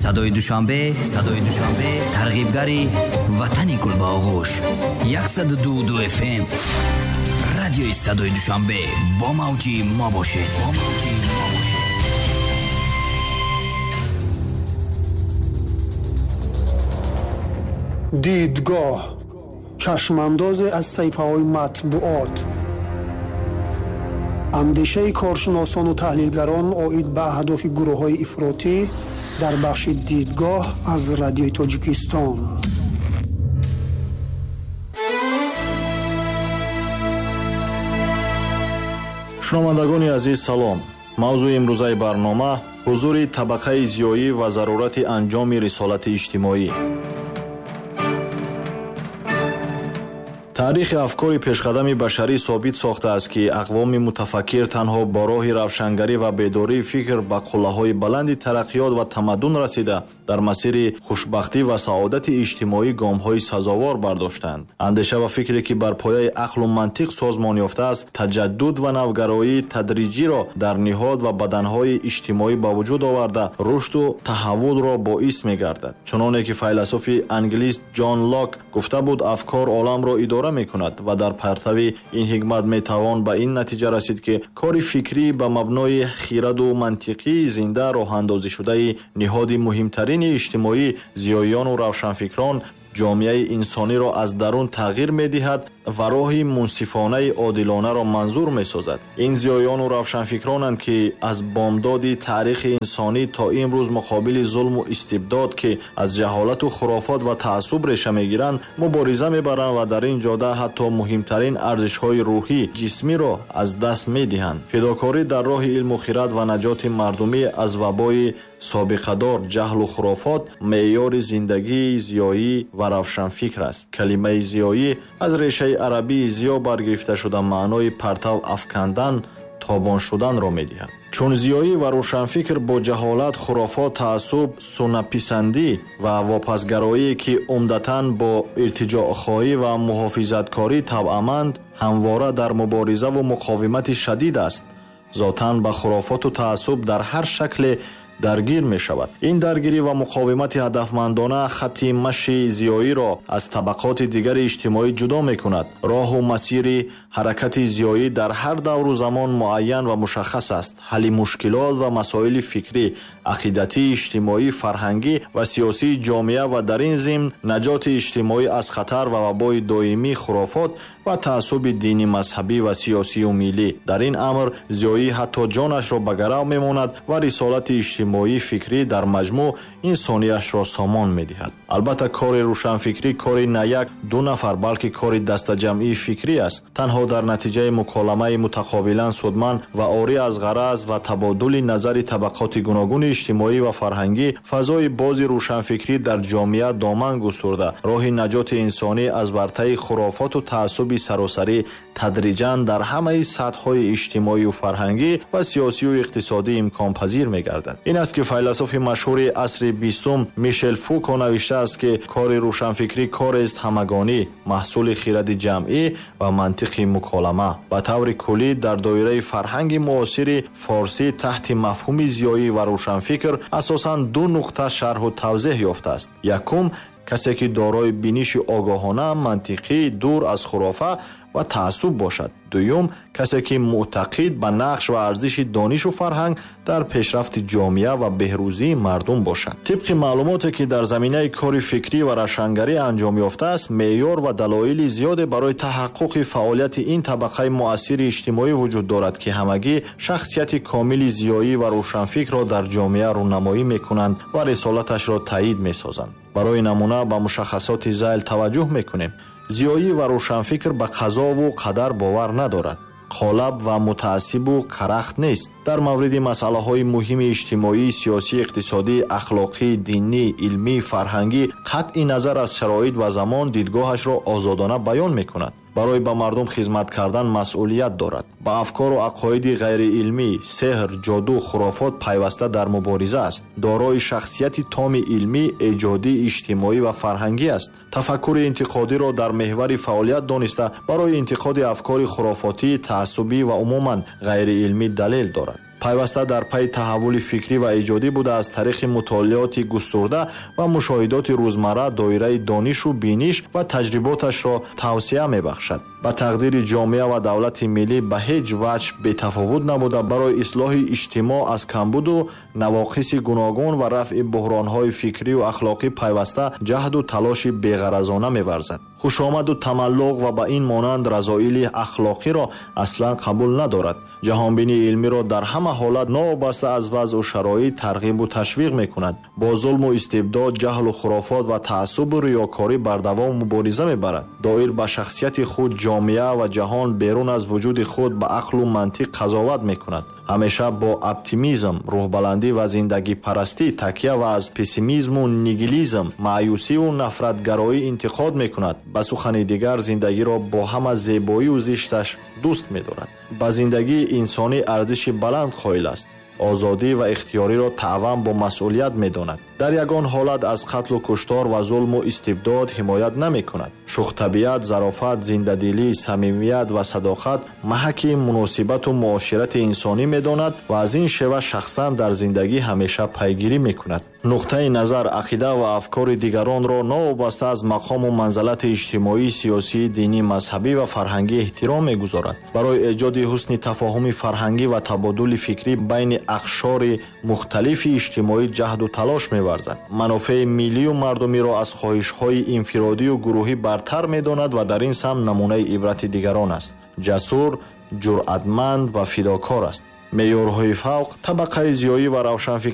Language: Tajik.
Садои Душанбе, Садои Душанбе, тарғибгари ватани гул ба оғӯш. 102.2 FM. Радиои Садои Душанбе бо мавҷи мо бошед. Бо мавҷи мо бошед. Дидгоҳ чашмандозе аз саҳифаҳои матбуот. Андешаи коршиносону таҳлилгарон оид ба аҳдофи гурӯҳҳои ифротӣ дар бахши дидгоҳ аз Радиои Тоҷикистон. Шунавандагони азиз, салом. Мавзӯи имрӯзаи барнома ҳузури табақаи зиёӣ ва зарурати анҷоми рисолати иҷтимоӣ. Таърихи афкори пешқадами башарӣ собит сохтааст, ки ақвоми мутафаккир танҳо бо роҳи равшангарӣ ва бедории фикр ба қуллаҳои баланди тараққиёт ва тамаддун расида, дар масири хушбахтӣ ва саодати иҷтимоӣ гомҳои сазовор бардоштанд. Андеша ва фикре, ки бар пояи ақлу мантиқ созмон ёфтааст, таҷаддуд ва навгароии тадриҷиро дар ниҳод ва баданҳои иҷтимоӣ ба вуҷуд оварда, рушду таҳаввулро боис мегардад. Чуноне ки файласуфи англис Ҷон Лок гуфта буд, афкор оламро идора мекунад ва дар партави ин ҳикмат метавон ба ин натиҷа расид, ки кори фикрӣ ба мабнои хираду мантиқии зинда роҳандозишудаи ниҳоди муҳимтарини иҷтимоӣ, зиёиёну равшанфикрон ҷомеаи инсониро аз дарун тағйир медиҳад ва роҳи мунсифонаи одилонаро манзур месозад. Ин зиёиёну равшанфикронанд, ки аз бомдоди таърихи инсонӣ то имрӯз муқобили зулму истибдод, ки аз ҷаҳолату хурофот ва таассуб реша мегиранд, мубориза мебаранд ва дар ин ҷода ҳатто муҳимтарин арзишҳои рӯҳӣ, ҷисмиро аз даст медиҳанд. Фидокорӣ дар роҳи илму хират ва наҷоти мардумӣ аз вабои собиқадор, ҷаҳлу хурофот меъёри зиндагии зиёӣ ва равшанфикр аст. Калимаи зиёӣ аз решаи арабии зиё баргирифта шуда, маънои партав афкандан, тобон шуданро медиҳад. Чун зиёӣ ва рӯшанфикр бо ҷаҳолат, хурофот, таассуб, суннаписандӣ ва вопасгароӣ, ки умдатан бо иртиҷоъхоҳӣ ва муҳофизаткорӣ тавъаманд, ҳамвора дар муборизаву муқовимати шадид аст. Зотан ба хурофоту таассуб дар ҳар шакле даргир мешавад. Ин даргирӣ ва муқовимати ҳадафмандона хатти маши зиёиро аз табақоти дигари иҷтимоӣ ҷудо мекунад. Роҳу масири ҳаракати зиёӣ дар ҳар давру замон муайян ва мушаххас аст. Ҳалли мушкилот ва масоили фикрӣ, ақидатӣ, иҷтимоӣ, фарҳангӣ ва сиёсии ҷомеа ва дар ин зимн наҷоти иҷтимоӣ аз хатар ва вабои доимии хурофот ва таассуби дини мазҳабӣ ва сиёсию миллӣ. Дар ин амр зиёӣ ҳатто ҷонашро ба гарав мемонад ва рисолати иҷтимоӣ фикрӣ дар маҷмӯъ инсонияшро сомон медиҳад. Албатта, кори рӯшанфикрӣ кори на як ду нафар, балки кори дастаҷамъии фикрӣ аст. Танҳо дар натиҷаи муколамаи мутақобилан судманд ва орӣ аз ғараз ва табодули назари табақоти гуногуни иҷтимоӣ ва фарҳангӣ фазои бози рӯшанфикрӣ дар ҷомеа доман густурда, роҳи наҷоти инсонӣ аз вартаи хурофоту таассуби саросарӣ тадриҷан дар ҳамаи сатҳҳои иҷтимоию фарҳангӣ ва сиёсию иқтисодӣ имконпазир мегардад. Ин аст, ки файласуфи машҳури асри бистум Мишел Фуко навиштааст, ки кори рӯшанфикрӣ корест ҳамагонӣ, маҳсули хиради ҷамъӣ ва мантиқи муколама. Ба таври куллӣ дар доираи фарҳанги муосири форсӣ таҳти мафҳуми зиёӣ ва рӯшанфикр асосан ду нуқта шарҳу тавзеҳ ёфтааст. Якум, касе ки дорои биниши огоҳона, мантиқӣ, дур аз хурофа ва таассуб бошад. Дуюм, касе ки мӯътақид ба нақш ва арзиши донишу фарҳанг дар пешрафти ҷомеа ва беҳрӯзии мардум бошад. Тибқи маълумоте, ки дар заминаи кори фикрӣ ва равшангарӣ анҷом ёфтааст, меъёр ва далоили зиёде барои таҳаққуқи фаъолияти ин табақаи муассири иҷтимоӣ вуҷуд дорад, ки ҳамагӣ шахсияти комили зиёӣ ва рӯшанфикрро дар ҷомеа рӯнамоӣ мекунанд ва рисолаташро таъид месозанд. Барои намуна ба мушаххасоти зайл таваҷҷӯҳ мекунем. Зиёӣ ва рӯшанфикр ба қазову қадар бовар надорад. Қолаб ва мутаассибу карахт нест. Дар мавриди масъалаҳои муҳими иҷтимоӣ, сиёсӣ, иқтисодӣ, ахлоқӣ, динӣ, илмӣ, фарҳангӣ қатъи назар аз шароит ва замон дидгоҳашро озодона баён мекунад. Барои ба мардум хизмат кардан масъулият дорад. Ба афкору ақоиди ғайриилмӣ, сеҳр, ҷоду, хурофот пайваста дар мубориза аст. Дорои шахсияти томи илмӣ, эҷодӣ, иҷтимоӣ ва фарҳангӣ аст. Тафаккури интиқодиро дар меҳвари фаъолият дониста, барои интиқоди афкори хурофотӣ, таассубӣ ва умуман ғайриилмӣ далел дорад. Пайваста дар пайи таҳаввули фикрӣ ва эҷодӣ буда, аз тариқи мутолиоти густурда ва мушоҳидоти рӯзмарра доираи донишу биниш ва таҷриботашро тавсеа мебахшад. Ба тақдири ҷомеа ва давлати миллӣ ба ҳеҷ ваҷҳ бетафовут набуда, барои ислоҳи иҷтимоъ аз камбуду навоқиси гуногун ва рафъи буҳронҳои фикрию ахлоқӣ пайваста ҷаҳду талоши беғаразона меварзад. Хушомаду тамаллуқ ва ба ин монанд разоили ахлоқиро аслан қабул надорад. Ҷаҳонбинии илмиро дар ҳама ҳолат новобаста аз вазъу шароит тарғибу ташвиқ мекунад. Бо зулму истибдод, ҷаҳлу хурофот ва таассубу риёкорӣ бардавом мубориза мебарад. Доир ба шахсияти худ, ҷомеа ва ҷаҳон берун аз вуҷуди худ ба ақлу мантиқ қазоват мекунад. Ҳамеша бо оптимизм, рӯҳбаландӣ ва зиндагипарастӣ такя ва аз пессимизму нигилизм, маъюсиву нафратгароӣ интиқод мекунад. Ба сухани дигар, зиндагиро бо ҳама зебоию зишташ дӯст медорад. Ба зиндагии инсонӣ арзиши баланд қоил аст. Озодӣ ва ихтиёриро таъван бо масъулият медонад. Дар ягон ҳолат аз қатлу куштор ва зулму истибдод ҳимоят намекунад. Шухтабиат, зарофат, зиндадилӣ, самимият ва садоқат маҳаки муносибату муоширати инсонӣ медонад ва аз ин шева шахсан дар зиндагӣ ҳамеша пайгирӣ мекунад. Нуқтаи назар, ақида ва афкори дигаронро новобаста аз мақому манзалати иҷтимоӣ, сиёсӣ, динӣ, мазҳабӣ ва фарҳангӣ эҳтиром мегузорад. Барои эҷоди ҳусни тафоҳуми фарҳангӣ ва табодули фикрӣ байни ақшори мухталифи иҷтимоӣ ҷаҳду талош меварзад. Манофеи миллию мардумиро аз хоҳишҳои инфиродию гурӯҳӣ бартар медонад ва дар ин самт намунаи ибрати дигарон аст. Ҷасур, ҷуръатманд ва фидокор аст. Меъёрҳои фавқ табақаи зиёӣ ва равшанфикр